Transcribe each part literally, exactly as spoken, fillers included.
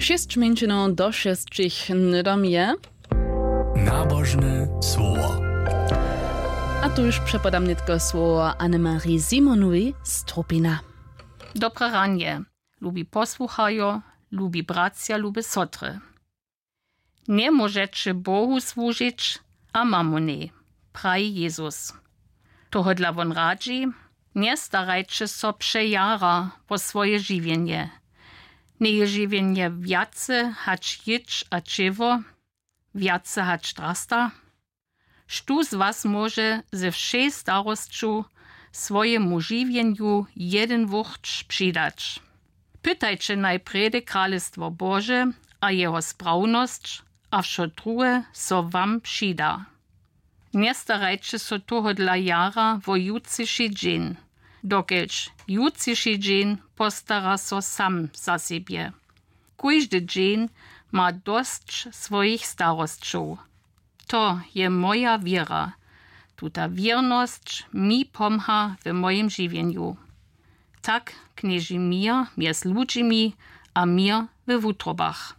Šěsć mjeńšinow do šěsćich hnydom je. Nabožne słowo. A tuž přepodam nětko słowo Annemarie Simonowi z Trupina. Dobre ranje, lubi posłuchajo, lubi bratřa, lube sotry. Njemóžeće Bohu słužić a mamonej, praji Jezus. Tohodla wón radźi: Njestarajće so přejara wo swoje žiwjenje. Njeje žiwjenje wjace hač jědź a ćěło, wjace hač drasta? Štó z was móže ze wšej starosću swojemu žiwjenju jedyn wurć přidać? Pytajće najprjedy Kralestwo Bože a jeho sprawnosć, a wšo druhe so wam přida. Njestarajće so tohodla jara wo jutřiši dźeń, dokelž jutřiši dźeń postara so sam za sebje. Kóždy dźeń ma dosć swojich starosćow. To je moja wěra. Tuta wěrnosć mi pomha w mojim žiwjenju. Tak knježi měr mjez ludźimi a měr we wutrobach.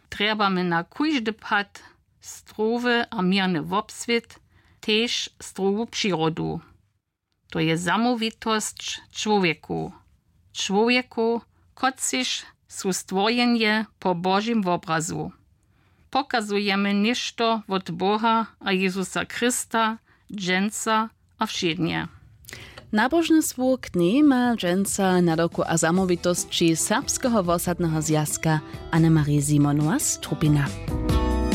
Trjebamy na kóždy pad zdrowy a měrny wobswět, tež zdrowu přirodu. To je zamołwitosć čłowjekow. Čłowjekow, kotřiž su stworjenje po Božim wobrazu. Pokazujemy něšto wot Boha a Jezusa Chrysta dźensa a wšědnje. Nabožne słowo k njej ma dźensa nadawku a zamołwitosći Serbskeho wosadneho zwjazka Annemarie Simonowa z Trupina.